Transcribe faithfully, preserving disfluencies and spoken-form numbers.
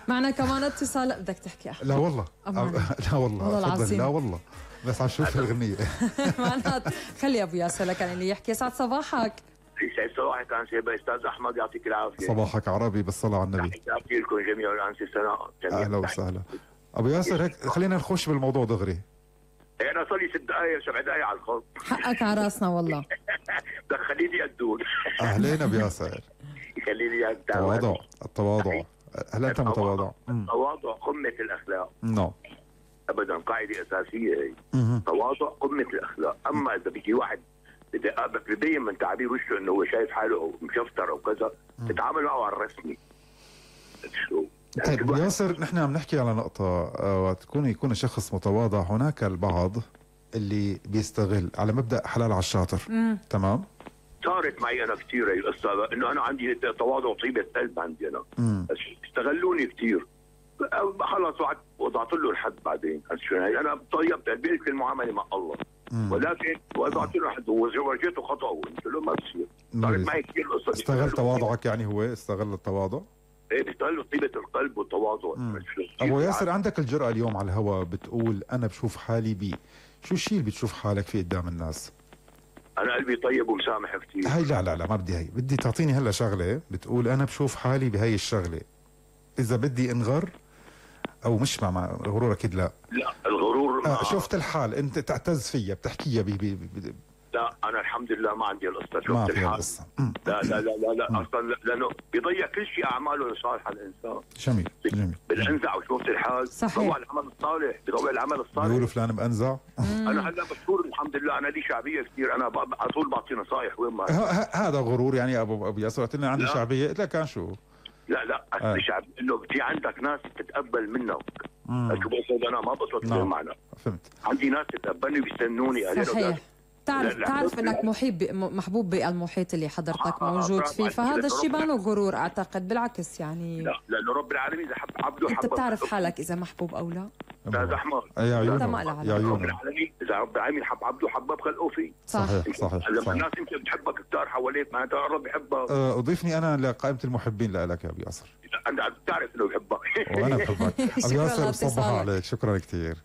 معنا كمان اتصال. بدك تحكي أحمد؟ لا والله أمان. لا والله والله تفضل. العظيم. لا والله بس عم شوف الأغنية. معنات خلي أبو ياسر لكن اللي يحكي. سعد صباحك. يسعد صباحك أنسي أستاذ أحمد، يعطيك العافية. صباحك عربي بالصلاة على النبي. تحياتي لكم جميعا أنسي سناء. أهلا وسهلا أبو ياسر. هيك خلينا نخش بالموضوع دغري. أنا صار لي ست دقايق سبع دقايق على الخط. حقك على راسنا والله. بدك خليني أدور. أهلين أبو ياسر. خليني أدور. التواضع التواضع. هل أنت متواضع؟ التواضع قمة الأخلاق. نعم أبدا، قاعدة أساسية هي. التواضع قمة الأخلاق. أما إذا بيجي واحد ببين من تعبير وشه إنه هو شايف حاله أو مشفتر أو كذا، تتعامل معه على الرسمي. شو؟ طيب ياسر، نحن عم نحكي على نقطة وتكون يكون الشخص متواضع. هناك البعض اللي بيستغل على مبدأ حلال على الشاطر. مم. تمام. صارت معي أنا كثير هي القصة، إنه أنا عندي تواضع وطيبة قلب عندي أنا. مم. استغلوني كثير. خلص وضعت له الحد بعدين. أنا طيبت قلبي في المعاملة مع الله. مم. ولكن وضعت له حد وورجيته خطأ قلت له ما بصير. صارت معي كثير القصة. استغل تواضعك يعني، هو استغل التواضع. ايه بيستغلوا طيبة القلب والتواضع. ابو ياسر، عندك الجرأة اليوم على الهواء بتقول انا بشوف حالي بي، شو الشيء اللي بتشوف حالك فيه قدام الناس؟ انا قلبي طيب ومسامح كثير. هاي لا لا لا ما بدي هي، بدي تعطيني هلا شغله بتقول انا بشوف حالي بهي الشغله. اذا بدي انغر او مش مع, مع الغرور اكيد لا. لا الغرور آه شفت الحال انت تعتز فيها بتحكيها بي بي بي. لا انا الحمد لله ما عندي القصه. شفت ما الحال القصة. لا لا لا لا, لا. اصلا لانه بيضيع كل شيء اعماله الصالحه الانسان. جميل جميل. بالانزع وشفت الحال. صحيح. بيضيع العمل الصالح، بيضيع العمل الصالح. بيقولوا فلان بانزع. انا هلا مشهور الحمد لله، انا لي شعبيه كثير، انا على طول بعطي نصائح وين ما. هذا غرور يعني ابو ابو ياسر. قلت لنا عندي شعبيه، قلت لك كان شو؟ لا لا آه. الشعب انه في عندك ناس تتقبل منك. شو بقصد انا؟ ما بقصد نعم. معنا. فهمت. عندي ناس تتقبلني بيستنوني. صحيح. تعرف تعرف انك محب محبوب بالمحيط اللي حضرتك آه موجود آه فيه، فهذا الشيء بانه غرور اعتقد. بالعكس يعني لا لانه رب العالمين اذا حب عبده حبه. انت بتعرف حالك اذا محبوب او لا. استاذ احمد يا عيون يا عيون رب العالمين اذا رب العالمين حب عبده حبه بخلقه فيه. صحيح صحيح. لما الناس يمكن بتحبك كثار حواليك معناتها الرب بحبك. أه اضيفني انا لقائمه المحبين لك يا ابو ياسر. انت بتعرف انه بحبك. وانا بحبك ابو ياسر. بصبح عليك، شكرا كثير.